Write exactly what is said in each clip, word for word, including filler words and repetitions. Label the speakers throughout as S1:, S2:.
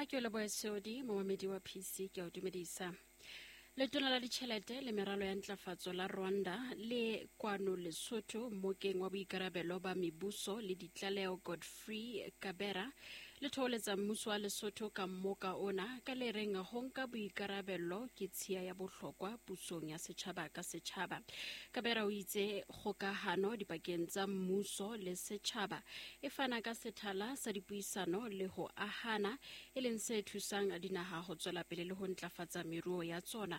S1: Ha ke o lebohe Seodi, momamedi wa P C, ke a o dumedisa. Letona la ditjhelete le meralo ya ntlafatso la Rwanda le kwano Lesotho mmokeng wa boikarabelo ba mebuso le ditlaleho Godfrey Kabera le thoholetsa mmuso wa Lesotho ka mmoka ona ka le reng ho nka boikarabelo ke tshiya ya bohlokwa pusong ya setjhaba ka setjhaba. Kabera o itse kgokahano dipakeng tsa mmuso le setjhaba e fana ka sethala sa dipuisano le ho ahana, e leng se thusang dinaha ho tswela pele le ho ntlafatsa meruo ya tsona.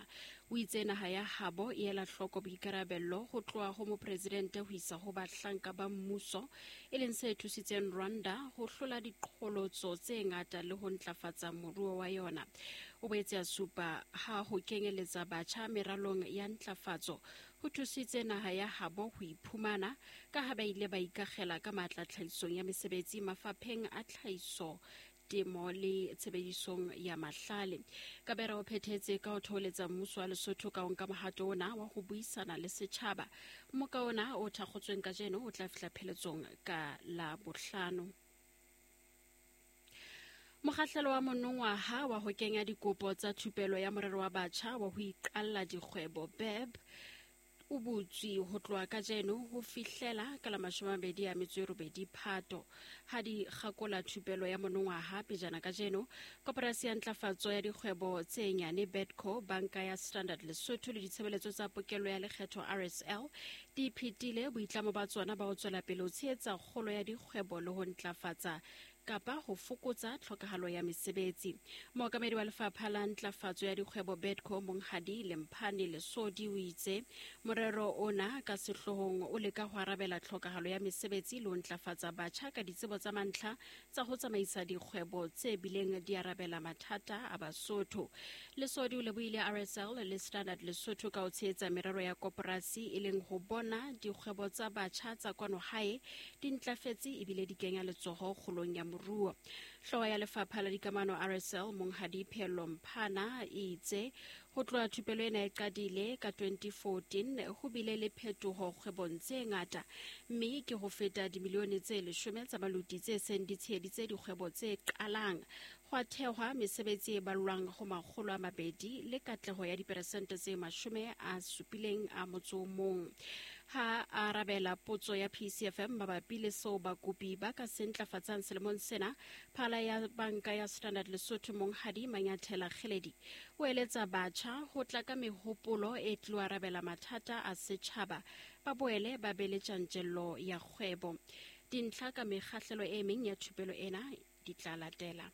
S1: O itse naha ya habo e ela hloko boikarabello ho tloha ho mopresidente ho isa ho bahlanka ba mmuso, e leng se thusitseng Rwanda ho hlola diqholotso tse ngata le ho ntlafatsa moruo wa yona. O boetse a supa ha ho kenyeletsa batjha meralong ya ntlafatso ho thusitse naha ya habo ho iphumana ka ha ba ile ba ikakgela ka matla tlhahisong ya mesebetsi mafapheng a tlhahiso, temo le tshebedisong ya mahlale. Kabera o phethetse ka ho thoholetsa mmuso wa Lesotho ka ho nka mohato ona wa ho buisana le setjhaba. Mmoka ona o thakgotsweng kajeno o tla fihla pheletsong ka la bohlano. Mokgahlelo wa monongwaha wa ho kenya dikopo tsa thupelo ya morero wa batjha wa ho iqalla dikgwebo B E B o butswe ho tloha kajeno ho fihlela ka la mashome a mabedi a metso e robedi Phato. Ha di kgakola thupelo ya monongwaha pejana kajeno, Koporasi ya Ntlafatso ya Dikgwebo tse Nyane BEDCO, Banka ya Standard Lesotho le ditshebeletso tsa pokello ya lekgetho R S L di phethile boitlamo ba tsona ba ho tswela pele ho tshehetsa kgolo ya dikgwebo le ho ntlafatsa kapa ho fokotsa tlhokahalo ya mesebetsi. Mookamedi wa lefapha la ntlafatso ya dikgwebo BEDCO Monghadi Lemphane Lesodi o itse morero ona ka sehloohong o leka ho arabela tlhokahalo ya mesebetsi le ho ntlafatsa batjha ka ditsebo tsa mantlha tsa ho tsamaisa dikgwebo tse bileng di arabela mathata a Basotho. Lesodi o lebohile R S L le Standard Lesotho ka ho tshehetsa merero ya koporasi e leng ho bona dikgwebo tsa batjha tsa kwano hae di ntlafetse ebile di kenya letsoho kgolong ya moruo. Hlooho ya lefapha la dikamano R S L Monghadi Pheello Mphana e itse ho tloha thupelo ena e qadile ka twenty fourteen ho bile le phetoho kgwebong tse ngata, mme ke ho feta dimilione tse leshome tsa maluti tse seng di tsheheditse dikgwebo tse qalang. Ho a thehwa mesebetsi e ballwang ho makgolo a mabedi le katleho ya diperesente tse mashome a supileng a motso o mong. Ha a arabela potso ya P C F M mabapi le seo bakopi ba ka se ntlafatsang selemong sena, phala ya banka ya Standard Lesotho Monghadi Manyathela Kgeledi o eletsa batjha ho tla ka mehopolo e tlo arabela mathata a setjhaba, ba boele ba be le tjantjello ya kgwebo. Dintlha ka mekgahlelo e meng ya thupelo ena di tla latela.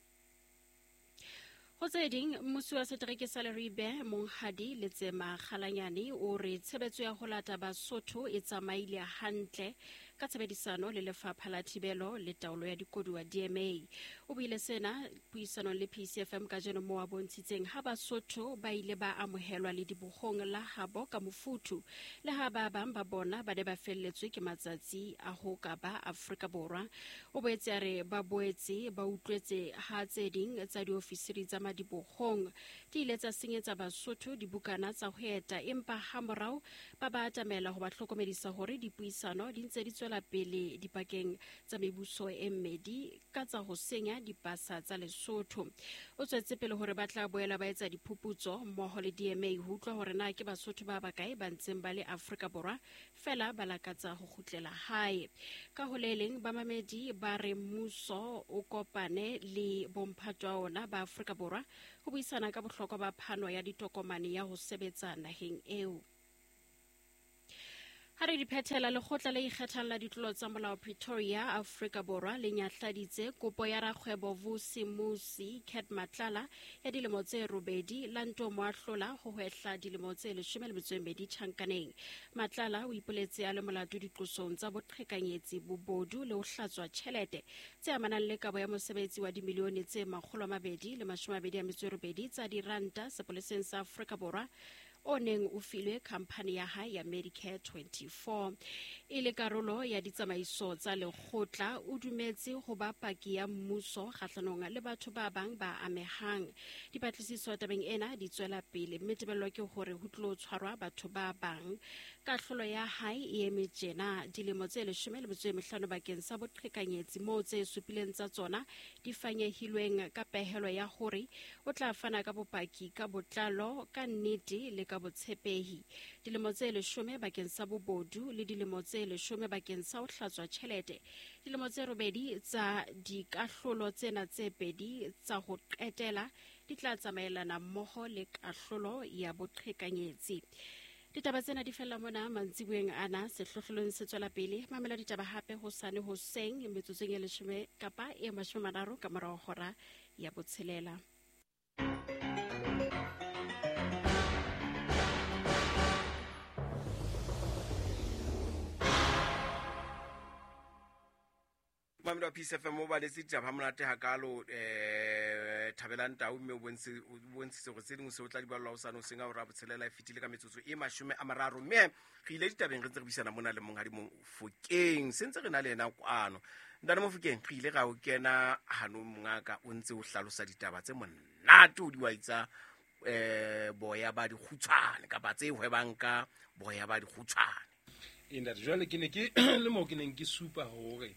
S1: Ho tse ding, mmusi wa setereke sa Leribe Monghadi Letsema Kgalanyane o re tshebetso ya ho lata Basotho e tsamaile hantle ka tshebedisano le lefapha la thibelo le taolo ya dikoduwa D M A. O buile sena puisanong le P C F M kajeno moo a bontshitseng ha Basotho ba ile ba amohelwa le dibohong la habo ka mofuthu, le ha ba bang ba bona ba ne ba felletswe ke matsatsi a ho ka ba Afrika Borwa. O boetse a re ba boetse ba utlwetse ha tse ding tsa diofisiri tsa madibohong di ile tsa senyetsa Basotho dibukana tsa ho eta, empa hamorao ba ba atamela ho ba hlokomedisa hore dipuisano di ntse di tswela pele dipakeng tsa mebuso e mmedi ka tsa ho senya dipasa tsa Lesotho. O tswetse pele hore ba tla boela ba etsa diphuputso mmoho le D M A ho utlwa hore na ke Basotho ba bakae ba ntseng ba le Afrika Borwa fela ba lakatsa ho kgutlela hae. Ka ho le leng, bamamedi ba re mmuso o kopane le bomphato wa ona ba Afrika Borwa ho buisana ka bohlokwa ba phano ya ditokomane ya ho sebetsa naheng eo. Ha re di phethela, lekgotla le ikgethang la ditlolo tsa molao Pretoria, Afrika Borwa le nyahladitse kopo ya rakgwebo Vusi Musi Cat Matlala ya dilemo tse robedi la nto mo ahlola ho hwehla dilemo tse leshome le metso e mmedi tjhankaneng. Matlala o ipoletse a le molato diqosong tsa boqhekanyetsi, bobodu le ho hlatswa tjhelete tse amanang le kabo ya mosebetsi wa dimilione tse makgolo a mabedi le mashome a mabedi a metso e robedi tsa diranta sepoleseng sa Afrika Borwa o neng o filwe khamphani ya hae ya Medicare twenty-four. E le karolo ya ditsamaiso tsa lekgotla, o dumetse ho ba paki ya mmuso kgahlanong le batho ba bang ba amehang. Dipatlisiso tabeng ena di tswela pele, mme tebello ke hore ho tlo tshwarwa batho ba bang. Kahlolo ya hae e eme tjena dilemo tse leshome le metso e mehlano bakeng sa boqhekanyetsi moo tse supileng tsa tsona di fanyehilweng ka pehelo ya hore o tla fana ka bopaki ka botlalo ka nnete le ka botshepehi. Dilemo tse leshome bakeng sa bobodu le dilemo tse leshome bakeng sa ho hlatswa tjhelete. Dilemo tse robedi tsa dikahlolo tsena tse pedi tsa ho qetela di tla tsamaelana mmoho le kahlolo ya boqhekanyetsi. Ditaba tsena di fella mona mantsiboeng ana sehlohlolong se tswela pele. Mamela ditaba hape hosane hoseng metsotsong e leshome kapa e mashome a mararo ka morao hora ya botshelela.
S2: Mamela wa Peace F M o baletse ditaba ha monate hakalo eh Thabelang Tau mme o bontse o bontshitse hore tse ding se o tla di ballwa hosane hoseng ha hora botshelela e fetile ka metsotso e mashome a mararo. Mme re ile ditabeng re ntse re buisana mona le monghadi Mofokeng, se ntse re na le yena kwano. Ntate Mofokeng, re ile ra o kena hanong mongaka o ntse o hlalosa ditaba tse monate o di wa itsa eh boya ba dikgutshwane kapa tse hwebang ka boya ba dikgutshwane.
S3: E ntate, jwale ke ne ke le mo ke neng ke supa hore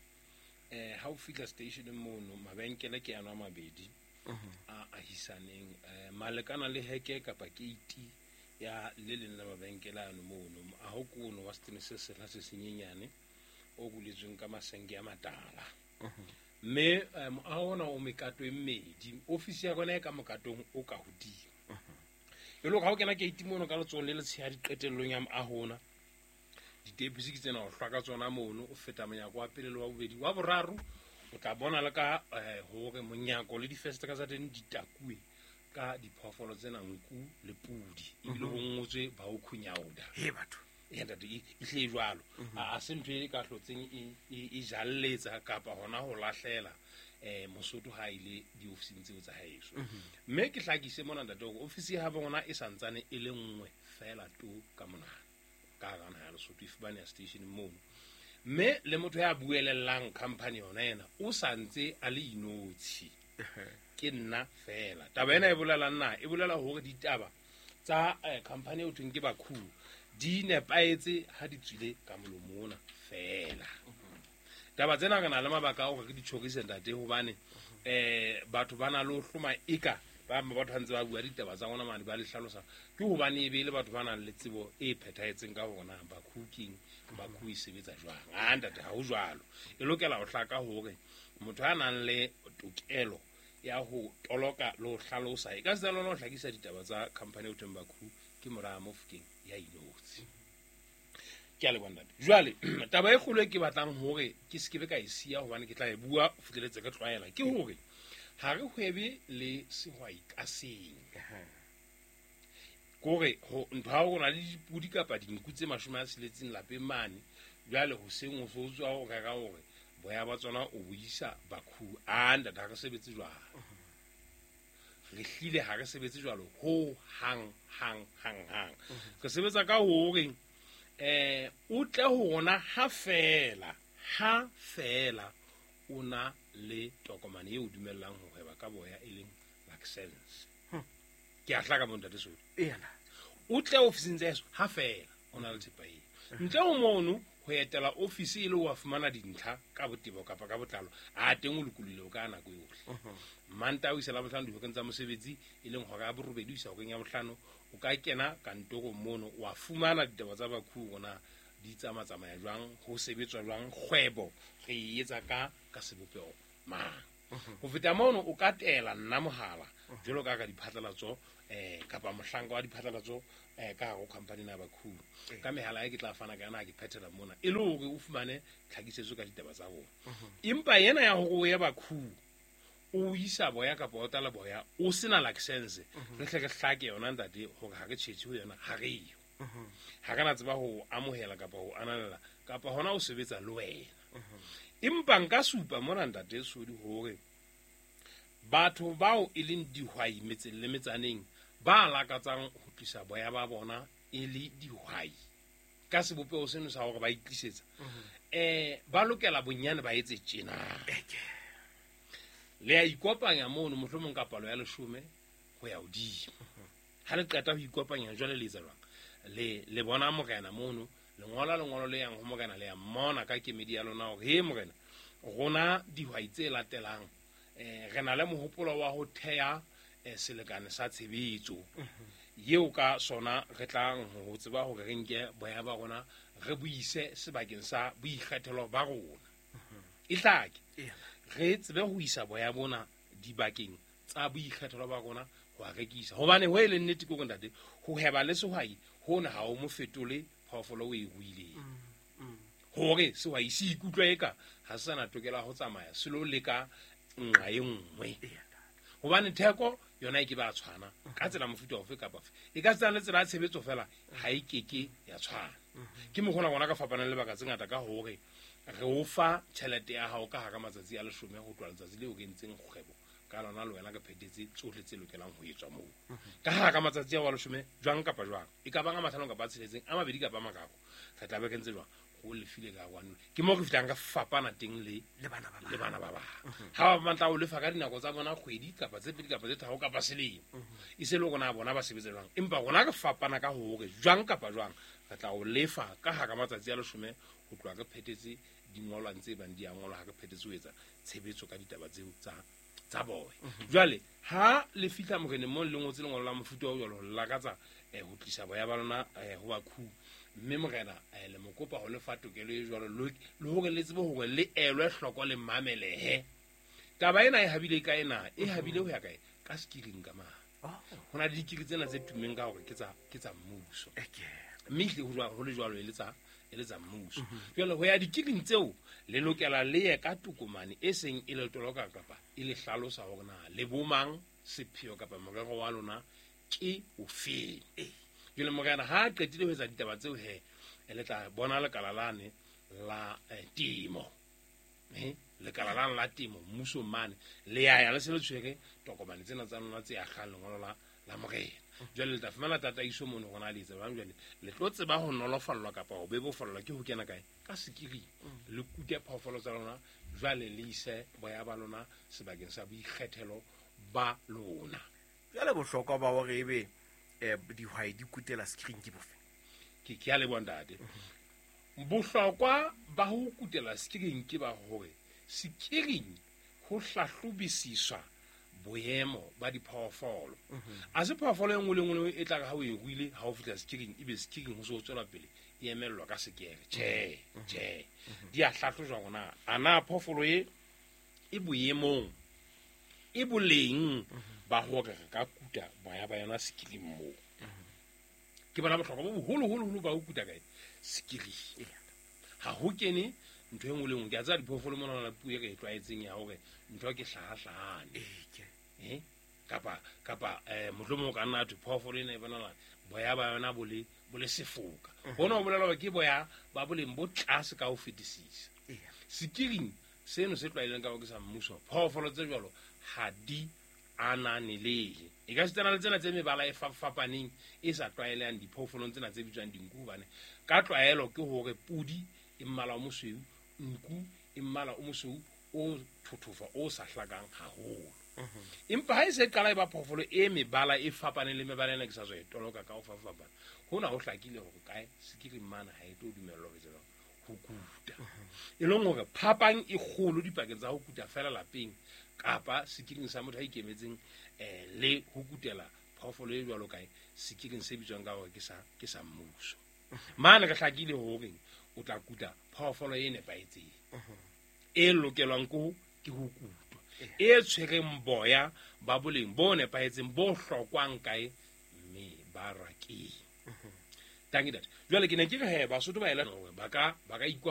S3: eh ha o fihla station mono mabenkele ke ano a mabedi a ahisaneng eh malekana le heke kapa keiti ya le leng la mabenkele ano mono a ho kono wa setene se sehla se senyenyane o buletsweng ka masenke a matala. Mme moaho ona o mekato e mmedi, ofisi ya rona e ka mokatong o ka hodimo. E le hore ha o kena keiti mono ka letsohong le letshehadi qetellong ya moaho ona, ditepisi ke tsena o hlwa ka tsona mono, o feta monyako wa pele le wa bobedi wa boraro, o tla bona le ka hore monyako le difestere tsa teng di takuwe ka diphoofolo tsena nku le pudi, ebile ho ngotswe ba o khunyauda.
S2: He batho
S3: e ntate e hle jwalo a se ntho e ka hlotseng e jalletsa kapa hona ho lahlela eh Mosotho ha ile diofising tseo tsa haeso. Mme ke hlakise mona ntate hore ofisi ya bona e santsane e le nngwe fela to ka monana ka hara naha ya Lesotho, e fumaneha station mono. Mme le motho ya buelellang company yona ena o santse a le inotshi, ke nna fela. Taba ena e bolela nna, e bolela hore ditaba tsa company eo thweng ke Bakhu di nepahetse ha di tswile ka molomo ona fela. Taba tsena re na le mabaka a hore re di tjhorise ntate, hobane eh batho ba na le ho hloma eka ba batho ntse ba bua ditaba tsa rona mane ba le hlalosa, ke hobane e be le batho ba nang le tsebo e phethahetseng ka hore na Bakhu keng, Bakhu e sebetsa jwang. A ntate ha ho jwalo, e lokela ho hlaka hore motho a nang le tokelo ya ho toloka le ho hlalosa e ka se lona ho hlakisa ditaba tsa company eo thweng Bakhu ke mora Mofokeng ya inotshi. Ke a leboha ntate. Jwale taba e kgolo e ke batlang hore ke se ke be ka e siya hobane ke tla e bua ho fihleletse ke tlwaela, ke hore ha re hwebe le sehwai ka seng. Kore ho ntho ha o na le dipudi kapa dinku tse mashome a tsheletseng lapeng mane, jwale hoseng o so tswa o reka hore boya ba tsona o bo isa Bakhu. A ntate ha re sebetse jwalo, re hlile ha re sebetse jwalo ho hang hang hang hang. Re sebetsa ka hore eh o tle ho rona ha fela ha fela o na le tokomane eo dumellang ho hweba ka boya e leng license. Ke a hlaka bo ntate Sodi.
S2: Ena
S3: o tle ofising tsa eso ha fela o na le thepa eo. Ntle ho mono ho etela ofisi e le wa fumana dintlha ka botebo kapa ka botlalo, a teng o lokolohile o ka nako yohle. Mantaha o isa Labohlano dihoreng tsa mosebetsi e leng hora ya borobedi ho isa horeng ya bohlano, o ka kena kantorong mono wa fumana ditaba tsa Bakhu rona di tsamatsamaya jwang, ho sebetswa jwang, kgwebo re e etsa ka ka sebopeho mang. Ho feta mono o ka tela nna mohala jwalo ka ka diphatlalatso eh kapa mohlanka wa diphatlalatso eh ka hare ho company na Bakhu ka mehala e ke tla fana ka yona ha ke phethela mona, e le hore o fumane tlhakisetso ka ditaba tsa bona. Empa yena ya hore o ye Bakhu o isa boya kapa o tala boya o sena license, re hle re hlake yona ntate hore ha re tjhetjhe ho yona, ha re yo ha re na tseba ho amohela kapa ho ananela kapa hona o sebetsa le wena. Empa nka supa mona ntate Sodi hore batho bao e leng dihwai metseng le metsaneng ba lakatsang ho tlisa boya ba bona e le dihwai ka sebopeho seno sa hore ba itlisetsa eh ba lokela bonyane ba etse tjena. Le a ikopanya mono mohlomong ka palo ya leshome ho ya hodimo. Ha le qeta ho ikopanya jwale le etsa jwang? Le le bona morena mono le ngola lengolo le yang ho morena le ya mmona ka kemedi ya lona hore he morena rona dihwai tse latelang eh re na le mohopolo wa ho theha eh, selekane sa tshebetso yeo ka sona re tlang ho tseba hore re nke boya ba rona re buise sebakeng sa boikgethelo ba rona e hlake re tsebe ho isa boya bona dibakeng tsa boikgethelo ba rona ho a rekisa hobane ho e le nnete ke hore ntate ho heba le sehwai hona ha o mo fetole phoofolo o e ruileng hore sehwai se ikutlwe eka ha se sana tokelo ya ho tsamaya se lo leka nqa e nngwe hobane theko yona e ke ba tshwana ka tsela mofuta ofe kapa ofe e ka tsena le tsela ya tshebetso fela ha e keke ya tshwana ke mokgona rona ka fapanang le lebaka tse ngata ka hore re o fa tjhelete ya hao ka hara matsatsi a leshome ho tloha letsatsi leo re entseng kgwebo ka lona le wena re phethetse tsohle tse lokelang ho etswa moo ka hara matsatsi ao a leshome jwang kapa jwang e ka bang a mahlano kapa a tsheletseng a mabedi kapa a mararo re tla be re ntse jwang go lefile ka kwano ke mo re fihlang ka fapana teng le
S2: le bana ba
S3: le bana ba bang ha ba batla ho lefa ka dinako tsa bona kgwedi kapa tse pedi kapa tse tharo kapa selemo e se le rona bona ba sebetsa jwang empa rona re fapana ka hore jwang kapa jwang re tla o lefa ka hara matsatsi a leshome ho tloha re phethetse dingolwang tse bang di a ngolwa ha re phethetse ho etsa tshebetso ka ditaba tseo tsa tsa boya jwale ha le fihla moreneng mo le ngotse lengolo la mofuta o jwalo ho lakatsa eh, ho tlisa boya ba lona eh, ho bakhu mme morena eh, le mo kopa ho lefa tokelo e jwalo le hore le tsebe hore le elwe hloko le mamelehe taba ena e habile ka ena e habile ho ya kae ka sekiring ka mane ho na le dikiri tsena tse tummeng ka hore ke tsa ke tsa mmuso mme ehlile ho jwalo ho le jwalo e le tsa e le tsa mmuso jwale ho ya dikiring tseo le lokela le ye ka tokomane e seng e le toloka kapa e le hlalosa hore na le bomang sepheo kapa morero wa lona ke ofeng jwale morena ha a qetile ho etsa ditaba tseo he le tla bona lekala lane la eh, temo eh lekala lane la temo mmusong mane le ya ya le se le tshwere tokomane tsena tsa lona tse akgang lengolo la la morena jwale le tla fumana tataiso mono hore na le etsa jwang jwale le tlo tseba ho nolofallwa kapa ho bebofallwa ke ho kena kae ka sekiring le kute phoofolo tsa lona jwale le ise boya ba lona sebakeng sa boikgethelo ba lona
S2: jwale bohlokwa ba hore ebe eh dihwai di kutela sekiring ke bofe
S3: ke ke a leboha ntate bohlokwa ba ho kutela sekiring ke ba hore sekiring ho hlahlobisiswa boemo ba diphoofolo a se phoofolo e nngwe le nngwe e tla re ha o e ruile ha o fihla sekiring ebe sekiring ho se ho tswela pele e emellwa ka sekere tjhe tjhe di a hlahlojwa hore na a na phoofolo e e boemong e boleng ba hore re ka kuta boya ba yona sekiring moo ke bona bohlokwa bo boholoholo ba ho kuta kae sekiring ha ho kene ntho e nngwe le nngwe ke a tseba diphoofolo mona la puo e re e tlwaetseng ya hore ntho ke hlahahlahane eh kapa kapa eh mohlomong o ka nna thwe phoofolo ena e bonahala boya ba yona bo le bo le sefoka hona ho bolela hore ke boya ba boleng bo tlase ka ho fetisisa sekiring seno se tlwaeleng ka ho ke sa mmuso phoofolo tse jwalo ha di ananelehe e ka sitana le tsena tse mebala e fapaneng e sa tlwaelehang diphoofolong tsena tse bitswang dinku hobane ka tlwaelo ke hore pudi e mmala o mosweu nku e mmala o mosweu o thothofa o sa hlakang haholo empa ha e se qala e ba phoofolo e mebala e fapaneng le mebala ena ke sa tswa e toloka ka ho fapafapana hona ho hlakile hore kae sekiring mane ha e tlo dumellwa ho etsa ho kuta e leng hore phapang e kgolo dipakeng tsa ho kuta fela lapeng kapa sekiring sa motho a ikemetseng eh le ho kutela phoofolo e jwalo kae sekiring se bitswang ka hore ke sa ke sa mmuso mane re hlakile hore o tla kuta phoofolo e nepahetseng e lokelwang ke ho ke ho kutwa e tshwereng boya ba boleng bo nepahetseng bo hlokwang kae mme ba rakeng tanki ntate jwale ke ne ke re he Basotho ba ela hore ba ka ba ka ikwa